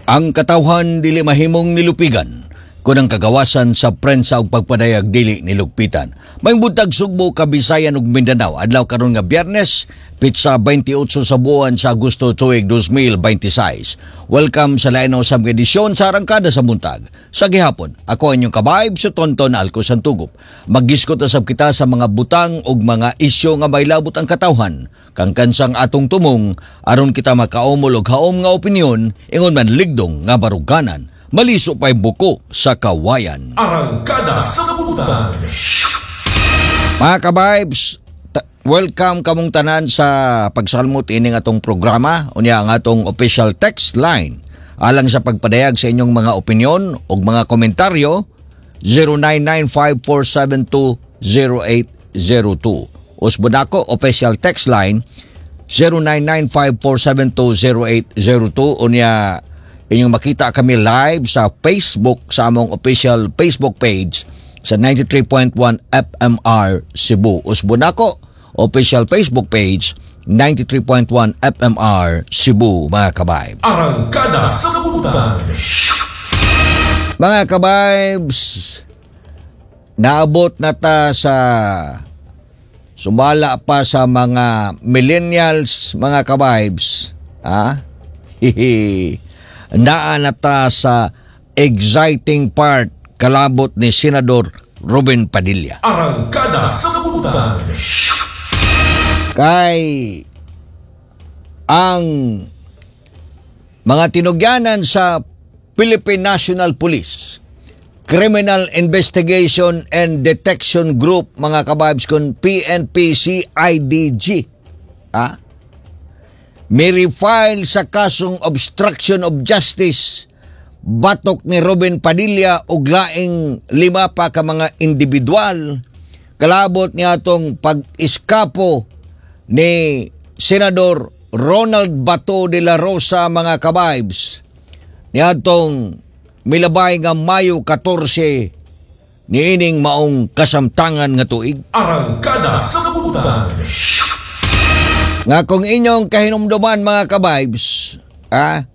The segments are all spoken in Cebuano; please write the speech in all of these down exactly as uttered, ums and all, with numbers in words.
Ang katawhan dili mahimong nilupigan kun ang kagawasan sa prensa ug pagpadayag dili nilugpitan. Maayong buntag, Sugbo, Kabisayan ug Mindanao. Adlaw karon nga Biyernes, petsa twenty-eight sa buwan sa Agosto tuig twenty twenty-six. Welcome sa lain usab nga edisyon sa Arangkada sa Buntag. Sa gihapon, ako inyong kabayb si Tonton Alco Santugop. Maggiskot usab kita sa mga butang ug mga isyu nga may labot ang katawhan. Kang kansang atong tumong aron kita makaumol og haom nga opinyon, ingon man ligdong nga baruganan. Maliso pa'y buko sa kawayan. Arangkada sa Buntag. Mga ka-vibes, ta- welcome kamong tanan sa pagsalmot ining atong programa. Unya ang atong official text line alang sa pagpadayag sa inyong mga opinyon o mga komentaryo, zero nine nine five, four seven two, zero eight zero two. Usbon ako, official text line zero nine nine five, four seven two, zero eight zero two. Unya inyong makita kami live sa Facebook, sa among official Facebook page sa ninety-three point one F M R Cebu. Usbon ako, official Facebook page ninety-three point one F M R Cebu, mga kabayb. Arangkada sa Buntag. Mga kabibes, naabot na ta sa sumala pa sa mga millennials, mga kabibes. Ah? Hihi. Naa na ta sa exciting part kalabot ni Senador Robin Padilla. Arangkada sa Buntag. Kay ang mga tinugyanan sa Philippine National Police Criminal Investigation and Detection Group, mga kababs, kun P N P C I D G, ah, may refile sa kasong obstruction of justice batok ni Robin Padilla ug laing lima pa ka mga individual kalabot niya atong pag-iskapo ni Senador Ronald Bato de la Rosa, mga kabibes, niadtong milabay nga Mayo fourteen niining maong kasamtangan nga tuig. Arangkada sa Buntag. Nga kung inyong kahinumduman, mga kabibes, ah,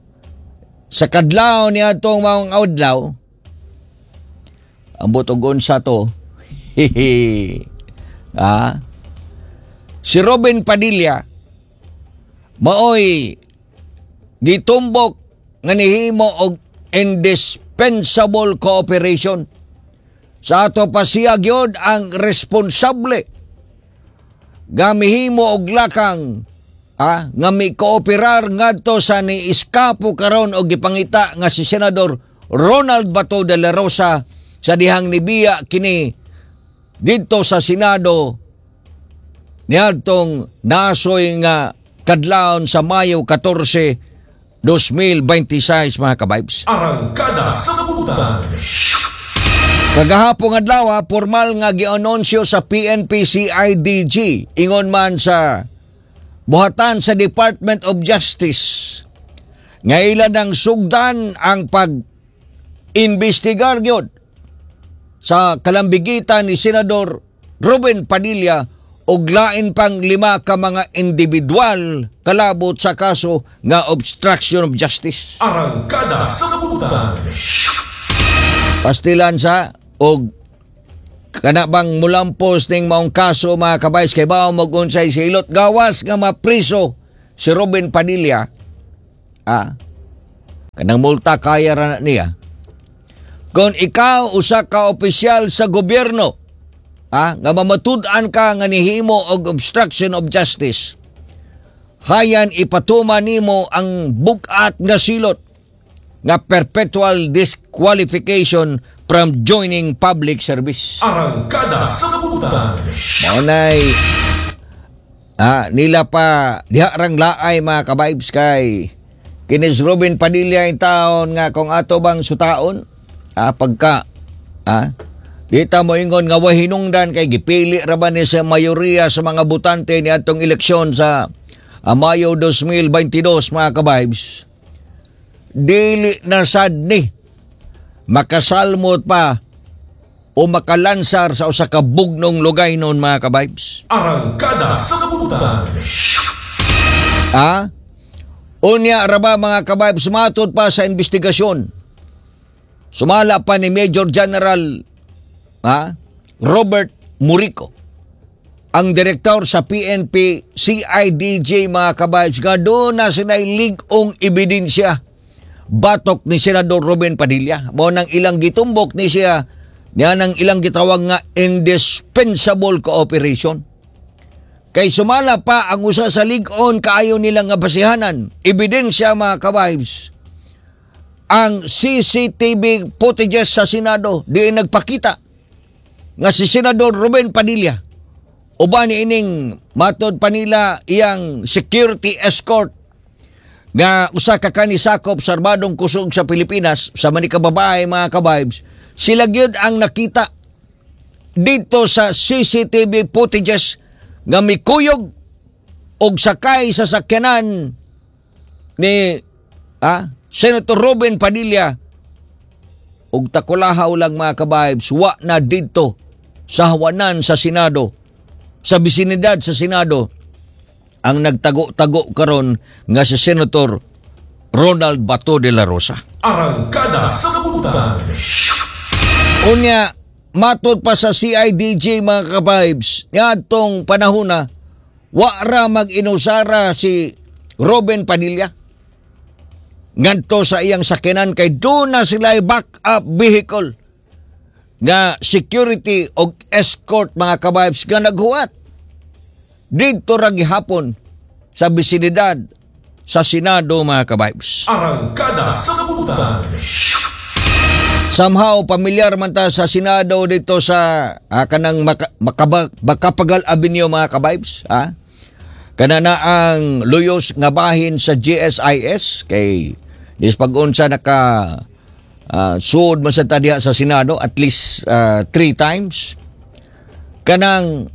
sa kadlaw niya atong maong adlaw, ambot og unsa to, ah, si Robin Padilla, maoy gitumbok nga nihimo og indispensable cooperation. Sa ato pa siya gyud ang responsable nga mihimo og lakang, ah, nga mi-kooperar ngadto sa ni-iskapo karon og gipangita nga si Senador Ronald Bato de la Rosa sa dihang nibiya kini didto sa Senado niadtong nasoy nga kadlawon sa Mayo fourteen, twenty twenty-six, mga kabibes. Arangkada sa Buntag. Kagahapon adlaw, ah, formal nga gianunsyo sa P N P C I D G, ingon man sa buhatan sa Department of Justice, nga ila nang sugdan ang pag investigar gyud sa kalambigitan ni Senador Robin Padilla ug lain pang lima ka mga individual kalabot sa kaso nga obstruction of justice. Arangkada sa Buntag. Pastilan sa og kana bang mulampos ning maong kaso, mga kabays, kay bao mo unsay silot gawas nga mapriso si Robin Padilla, ah, kanang multa kaya ra na niya. Kung ikaw usa ka opisyal sa gobyerno, ah, nga mamatud-an ka nga nihimo og obstruction of justice, hayan ipatuma nimo ang bug-at nga silot nga perpetual disqualification from joining public service. Arangkada sa Buntag. Mao nay ah, nila pa diha rang laay, mga kabibes, kay kinis Robin Padilla in taon nga kung ato bang sutaon, ah, pagka, ah, di ta mo ingon nga way hinungdan kay gipili ra ba ni sa mayoriya sa mga botante ni atong eleksyon sa ah, Mayo twenty twenty-two, mga kabibes, dili na sad ni makasalmot pa o makalansar sa usa ka bugnong lugay noon, mga kabibes. Arangkada sa Buntag. Ah? Unya raba, mga ka-vibes, matod pa sa investigasyon. Sumala pa ni Major General, ha, Robert Murico, ang direktor sa P N P C I D G, mga ka-vibes, nga duna sila lig-ong ebidensya batok ni Senador Robin Padilla. Mao nang ilang gitumbok ni siya niya nang ilang gitawag nga indispensable cooperation. Kay sumala pa ang usa sa lig-on kaayo nila nga basihanan, ebidensya, mga ka-vibes, ang C C T V footages sa Senado di nagpakita nga si Senador Robin Padilla uban ni ining matod pa nila iyang security escort nga usa ka kanisakop sa armadong kusog sa Pilipinas sa manika babae, mga ka-vibes, sila gyud ang nakita dito sa C C T V footages nga mikuyog og sakay sa sakyanan ni ah, Senator Robin Padilla og takulahaw lang, mga ka-vibes, wa na didto sa hawanan sa Senado, sa bisinidad sa Senado, ang nagtago-tago karon nga si Senator Ronald Bato de la Rosa. Arangkada sa Butan. Unya, matod pa sa C I D G, mga ka-vibes, niadtong panahon na wa ra mag-inusara si Robin Padilla ngadto sa iyang sakyanan kay duna sila back up vehicle nga security og escort, mga ka-vibes, nga naghuwat didto ra gihapon sa bisinidad sa Senado, mga ka-vibes. Arangkada sa Butan. Somehow pamilyar man ta sa Senado dito sa ah, kanang Maka, Makaba, Makapagal Avenue, mga ka-vibes, ha? Kana na ang luyos nga bahin sa G S I S kay dis pag-unsa naka uh, suod man sa ta diha sa Senado at least ah, three times. Kanang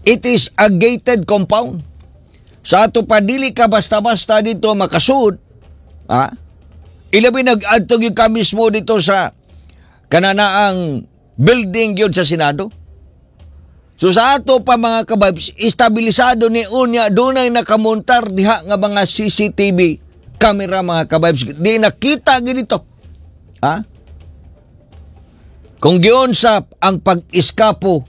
it is a gated compound. Sa ato pa, dili ka basta-basta dito makasuod. Ha? Ilabi nag-adto gyud ka mismo dito sa kananaang building gyud sa Senado. So sa ato pa, mga ka-vibes, estabilisado ni unya dunay nakamontar diha nga mga C C T V camera, mga ka-vibes. Di nakita ginito. Ha? Kung giunsa ang pag-iskapo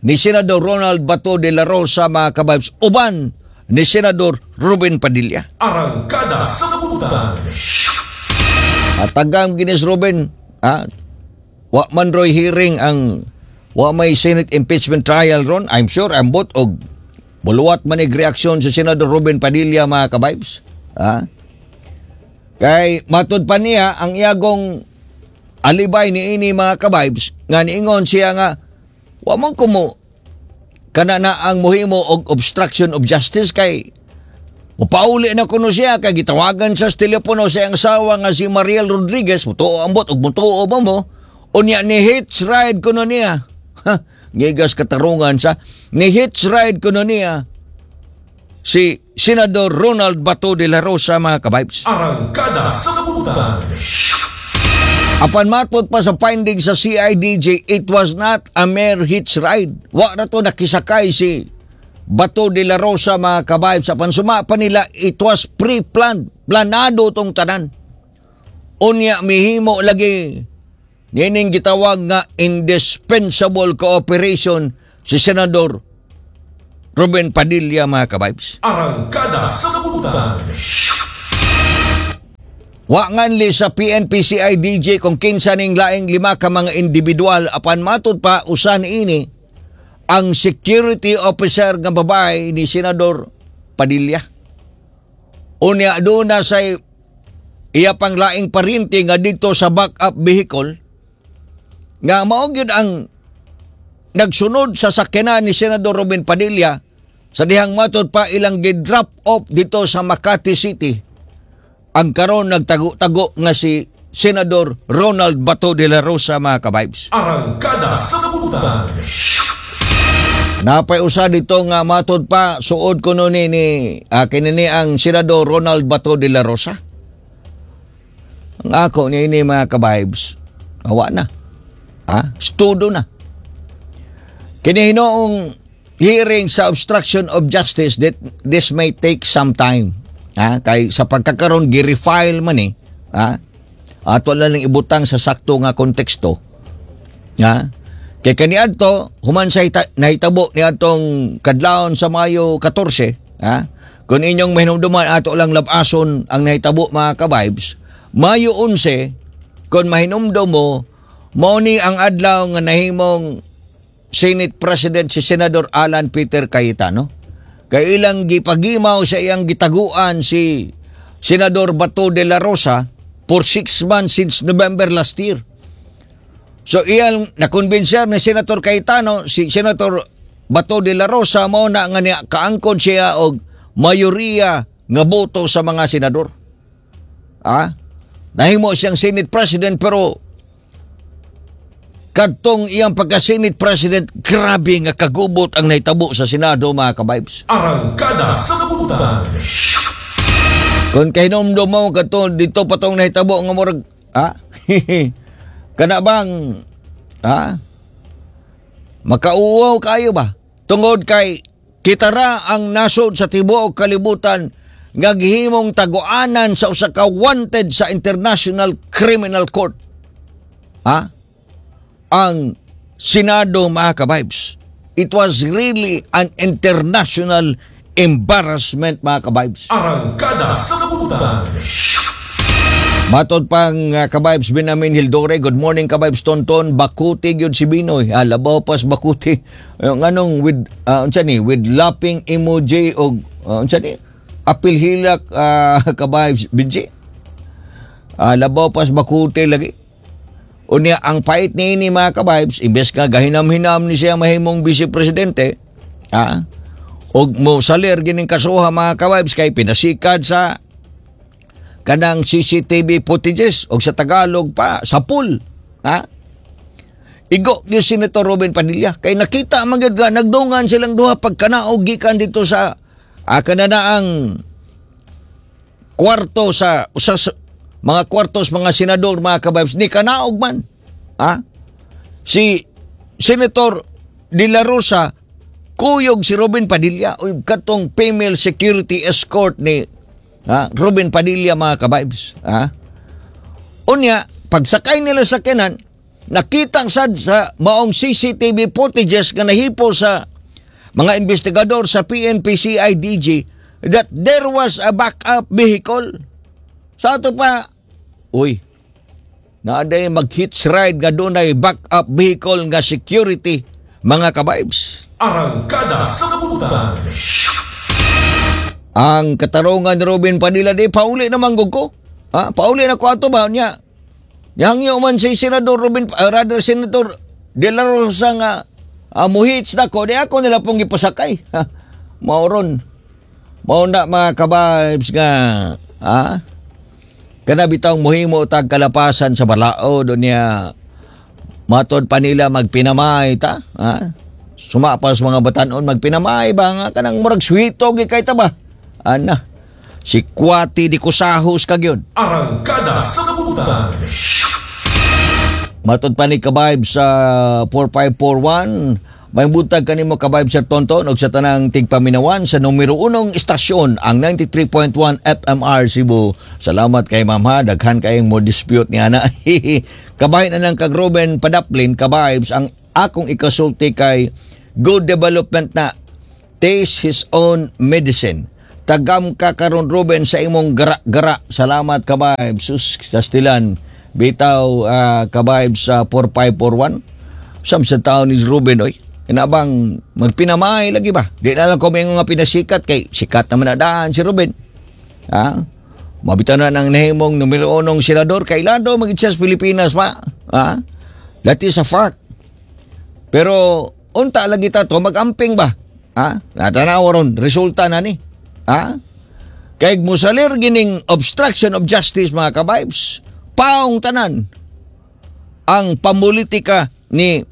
ni Senador Ronald Bato de la Rosa, mga ka-vibes, uban ni Senador Ruben Padilla. Arangkada sa Butan. At tagam ginis Ruben, ha? Wa man roy hearing ang wa may Senate impeachment trial ron. I'm sure ambot og muluwat man ig reaksyon si Senador Ruben Padilla, mga ka-vibes. Ha? Kay matud pa niya ang iyagong alibay ni ini, mga ka-vibes, nga niingon siya nga wa man kumo kana na ang muhimo og obstruction of justice kay mupauli na kuno siya kay gitawagan sa telepono sa iyang asawa nga si Mariel Rodriguez, mutuo ambot og mutuo ba mo? Unya ni hitch ride kuno niya. Ha, ngigas katarungan sa ni hitch ride kuno niya si Senador Ronald Bato de la Rosa, mga ka-vibes. Arangkada sa Butan. Apan matod pa sa findings sa C I D J, it was not a mere hitch ride. Wa na to nakisakay si Bato de la Rosa, mga ka-vibes. Apan suma pa nila, it was pre-planned. Planado tong tanan. Unya mihimo lagi nining gitawag nga indispensable cooperation si Senador Ruben Padilla, mga ka-vibes. Arangkada sa Butan. Wa nganli sa P N P C I D J kung kinsa ning laing lima ka mga individual, apan matud pa usan ini ang security officer nga babae ni Senador Padilla. Unya duna sa iya pang laing parinti nga dito sa backup vehicle nga mao gyud ang nagsunod sa sakyanan ni Senador Robin Padilla sa dihang matod pa ilang gi-drop off dito sa Makati City ang karon nagtago-tago nga si Senador Ronald Bato de la Rosa, mga ka-vibes. Arangkada sa Butan. Napay usa dito nga matod pa suod kuno ni ni ah, kini ni ang Senador Ronald Bato de la Rosa. Ang ako ni ini, mga ka-vibes, awa na. Ha? Studo na. Kini hinoong hearing sa obstruction of justice, that this may take some time. Ha? Kay sa pagkakaron gi-refile man eh. Ha? Ato lang ning ibutang sa sakto nga konteksto. Ha? Kay kaniadto human sa hita, nahitabo niadtong kadlawon sa Mayo katorse, ha? Kung inyong mahinumduman, ato lang labason ang nahitabo, mga ka-vibes. Mayo onse, kung mahinumdum mo, mao ni ang adlaw nga nahimong Senate President si Senador Alan Peter Cayetano. Kay ilang gipagimaw sa iyang gitaguan si Senador Bato de la Rosa for six months since November last year. So iyang nakonbensyer ni Senator Cayetano si Senator Bato de la Rosa, mao na nga niya kaangkon siya og mayoriya nga boto sa mga senador. Ah? Nahimo siyang Senate President, pero kadtong iyang pagka-Senate President, grabe nga kagubot ang nahitabo sa Senado, mga ka-vibes. Arangkada sa Butan. Kung kahinomdom mo kadto dito pa tong nahitabo nga murag, ah, kana bang, ah, makauwaw kayo ba tungod kay kita ra ang nasod sa tibuok kalibutan nga gihimong taguanan sa usa ka wanted sa International Criminal Court, ha, ang Senado, mga ka-vibes? It was really an international embarrassment, mga ka-vibes. Arangkada sa Butan. Matod pang uh, ka-vibes Benjamin Hildore, "Good morning, ka-vibes Tonton, bakuti gyud si Binoy." Ah, labaw pas bakuti. Yung anong with uh, unsa ni, with laughing emoji og uh, unsa ni? Apil hilak, uh, ka-vibes Benji. Ah, labaw pas bakuti lagi. Unya ang pait niini, mga ka-vibes, imbes nga gahinam-hinam ni siya mahimong vice presidente, ah, og mo salir gining kasuha, mga ka-vibes, kay pinasikad sa kanang C C T V footages og sa Tagalog pa sa pool, ha, igo yung Senator Robin Padilla kay nakita man gyud nga nagdungan silang duha pagkanaog gikan dito sa ah, kanana ang kwarto sa usa sa mga kwartos mga senador, mga ka-vibes, ni kanaog man, ha, si Senator De La Rosa kuyog si Robin Padilla o katong female security escort ni, ha, Robin Padilla, mga ka-vibes, ha. Unya pagsakay nila sa sakyanan, nakita sad sa maong C C T V footages nga nahipo sa mga investigador sa P N P C I D G that there was a backup vehicle. Sa ato pa, uy, naaday mag-hitch ride nga dunay backup vehicle nga security, mga ka-vibes. Arangkada sa Butan. Ang katarungan ni Robin Padilla di pauli naman gud ko. Ha? Pauli na ko ato ba niya? Nihangyo man si Senador Robin, uh, rather Senator De La Rosa nga uh, muhits na ko, di ako nila pong gipasakay. Ha? Mauron. Mao na, mga ka-vibes, nga, ha? Kana bitawng muhimo tag kalapasan sa balaod niya, matod pa nila magpinamay ta, ha? Suma pa sa mga batanon, magpinamay ba nga kanang murag swito gi kay ta ba? Ana. Si Kwati di kusahos kag yun. Arangkada sa Butan. Matod pa ni ka-vibe sa four five four one, "May buntag kanimo, ka-vibe Sir Tonton og sa tanang tigpaminawan sa numero unong istasyon, ang ninety-three point one F M R Cebu." Salamat kay ma'am ha, daghan kayong mo dispute ni ana. "Kabahin na lang kag Ruben Padaplin, ka-vibes, ang akong ikasulti kay good development na taste his own medicine. Tagam ka karon, Ruben, sa imong gara-gara. Salamat, ka-vibes." Sus, sastilan. Bitaw, uh, ka-vibes sa four five four one. Sam sa taon ni Ruben oy. Inabang magpinamay lagi ba? Di na lang ko may nga pinasikat kay sikat naman na daan si Ruben. Ha? Mabita na ng nahimong numero unong senador kay Lado magit siya sa Pilipinas pa. Ha? That is a fact. Pero unta lagi ta to magamping ba? Ha? Natanaw ron resulta na ni. Ha? Kay musalir gining obstruction of justice, mga ka-vibes, paong tanan ang pamulitika ni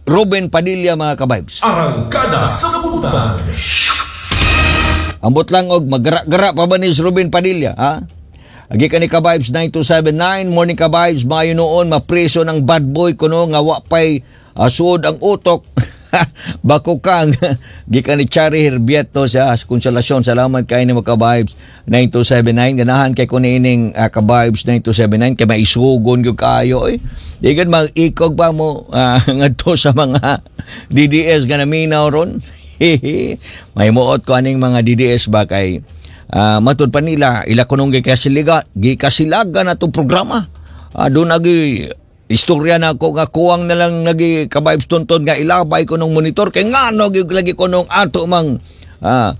Ruben Padilla, mga ka-vibes. Arangkada sa Butan. Ambot lang og magara-gara pa ba ni Ruben Padilla, ha? Agi ka ni ka-vibes nine two seven nine, "Morning, ka-vibes, mayo noon mapreso ng bad boy kuno nga wa pay uh, suod ang utok." Bako kang gikan ni Chari Herbieto sa Konsolasyon. Salamat kay ni ka-Vibes nine two seven nine. Ganahan kay ko niining uh, ka-Vibes nine two seven nine kay maisugon gyud kayo oy. Di gud mag-ikog pa mo uh, ngadto sa mga D D S nga naminaw ron. May muot ko aning mga D D S ba kay uh, matud pa nila ila kunong gikasiliga gikasilagan atong programa. Uh, doon agi istorya na ako nga kuwang na lang lagi, ka-Vibes Tonton, nga ilabay ko ng monitor kay ngano gyud lagi ko nung ato mang ah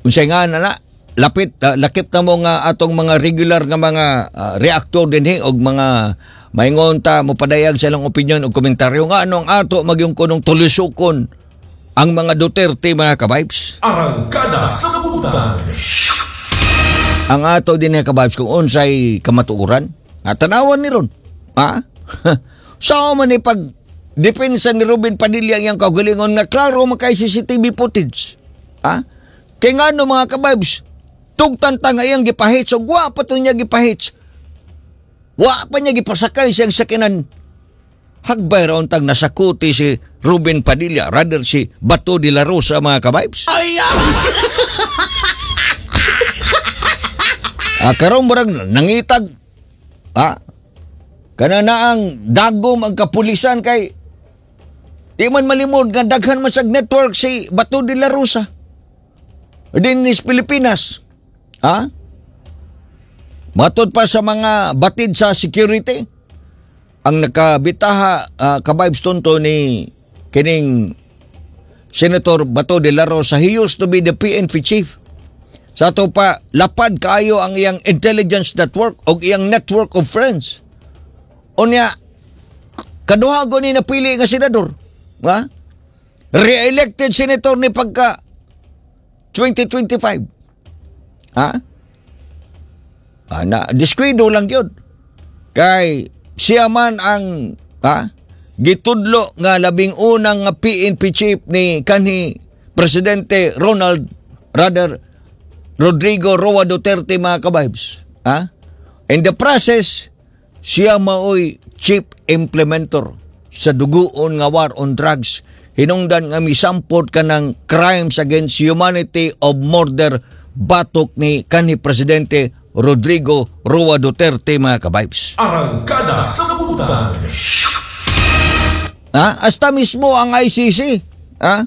unsay nga na na lapit ah, lakip na mo nga atong mga regular nga mga ah, reactor dinhi og mga maingon ta mopadayag sa ilang opinion og komentaryo, nga anong ato magyung kunong tulisukon ang mga Duterte, mga ka-Vibes. Arangkada sa Butan. Ang ato din, ka-Vibes, kung unsay kamatuoran at tanawan ni ron, ha. Sa man ni pag depensa ni Robin Padilla ang iyang kaugalingon nga klaro man kay C C T V footage, ha. Kay ngano, mga ka-Vibes, tugtan ta nga iyang gipahits og wa pa to niya gipahits, wa pa niya gipasakay siyang sakinan, hagbay ra untag nasakuti si Ruben Padilla, rather si Bato de la Rosa, mga ka-Vibes. Ay! Ah, karon murag nangitag. Ah, kana na ang dagom ang kapulisan kay di man malimod nga daghan man sag network si Bato de la Rosa din is Pilipinas. Ha? Matod pa sa mga batid sa security, ang nakabitaha, uh, ka-Vibes Tonto, ni kining Senator Bato de la Rosa, he used to be the P N P chief. Sa ato pa, lapad kaayo ang iyang intelligence network o iyang network of friends. Unya, kaduha ko ni napili nga senador. Ha? Re-elected senator ni pagka twenty twenty-five. Ha? Ah, na, diskuido lang yun. Kay siya man ang, ha, gitudlo nga labing unang nga P N P chief ni kanhi Presidente Ronald, rather Rodrigo Roa Duterte, mga ka-Vibes. Ha? In the process, siya maoy chief implementer sa duguon nga war on drugs hinungdan nga misampot ka ng crimes against humanity of murder batok ni kanhi Presidente Rodrigo Roa Duterte, mga ka-Vibes. Arangkada sa Butan. Ha? Hasta mismo ang I C C. Ha?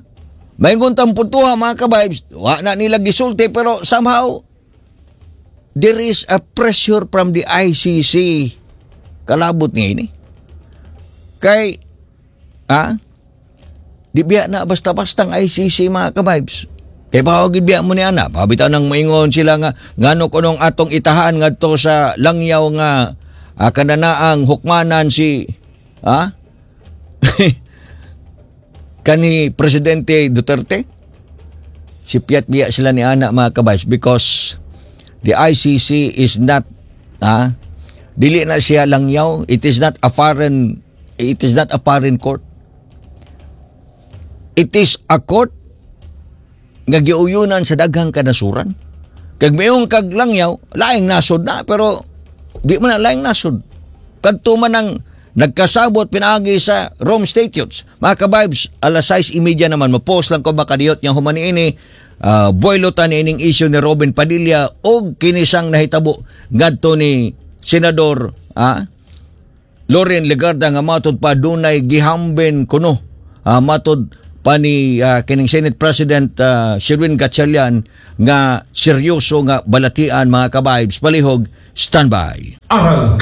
May tang puntuha, mga ka-Vibes, wa na nila gisulti pero somehow there is a pressure from the I C C kalabot ni ini. Kay, ha? Di biya na basta-basta ang I C C, mga ka-Vibes. Kay baka gid biya mo ni ana, pabitaw nang maingon sila nga ngano kunong atong itahaan ngadto sa langyaw nga uh, kananaang hukmanan si, ha, kani Presidente Duterte. Si Piat biya sila ni ana, mga ka-Vibes, because the I C C is not, ah, dili na siya langyaw. It is not a foreign it is not a foreign court. It is a court nga giuyunan sa daghang kanasuran. Kag mayong kag langyaw, laing nasod na, pero di man na laing nasod. Kadto man ang nagkasabot pinaagi sa Rome Statutes. Mga ka-Vibes, alas sais y medya naman, mo-post lang ko makadiyot nga human ini, uh, buwelo ta ni ining issue ni Robin Padilla og kinisang nahitabo ngadto ni Senador, ah, Loren Legarda nga matod pa dunay gihambin kuno, ah, matod pa ni ah, kining Senate President uh, Sherwin Gatchalian nga seryoso nga balatian, mga ka-Vibes. Palihog, standby. Arangkada